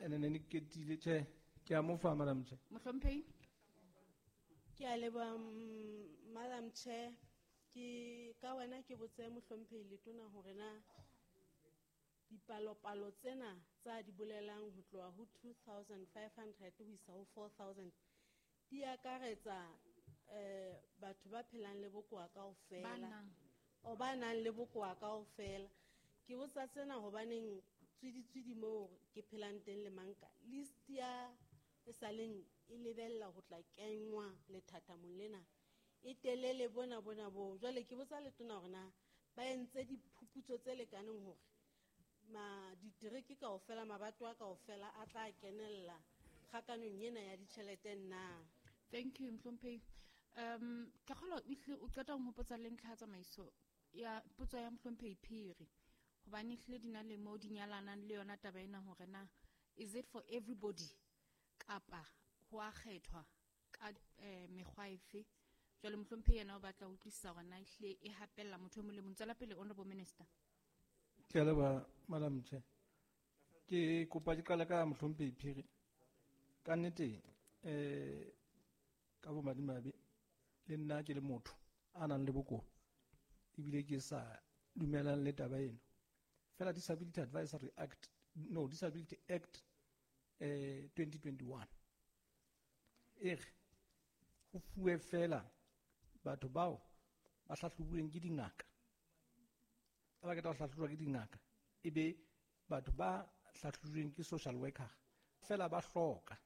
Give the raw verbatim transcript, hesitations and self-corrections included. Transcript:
Ene ne ke ketile tjhe, ke a mo fa Madam Chair. Mohlomphehi. Ke a leboha, mm, Madam Chair. Ke ka wena ke botse mohlomphehi Letona hore na dipalopalo tsena tsa di bolelang ho tloha ho two thousand five hundred ho isa ho four thousand di akaretsa, eh, batho ba phelang le bokowa kaofela. Ba nang. O ba nang le bokowa kaofela. Ke botsa tsena hobaneng tswiditswidi moo ke phelang teng le manka. List ya e saleng e lebella ho tla kenngwa lethathamong lena. E telele bona bona bo. Jwale ke botsa Letona hore na ba entse diphuputso tse lekaneng hore ma ditereke kaofela, mabatowa kaofela a tla kenella kgakanong ena ya ditjhelete na? Thank you, Mohlomphehi. Um, ke kgolwa o hlile o qeta ho nhopotsa le ntlha ya tsamaiso ya potso ya Mohlomphehi Phiri. Hobane ehlile di na le moo di nyalanang le yona taba ena hore na is it for everybody kapa ho a kgethwa ka, eh, mekgwa efe. Jwale Mohlomphehi yena o batla ho utlwisisa hore na ehlile e hapella motho e mong le mong. Tswela pele, Honorable Minister. Ke a leboha, Madam Chair. Ke kopa ke qale ka Mohlomphehi Phiri. Ka nnete, eh, ka bomadimabe le nna ke le motho a nang le bokowa ebile ke sa dumelang le taba eno. Fela Disability Advisory Act, no, Disability Act, eh, twenty twenty-one e re ho fuwe fela batho bao ba hlahlobuweng ke dingaka. Ha ba qeta ho hlahlobuwa ke dingaka, ebe batho ba hlahlobuweng ke social worker fela ba hloka.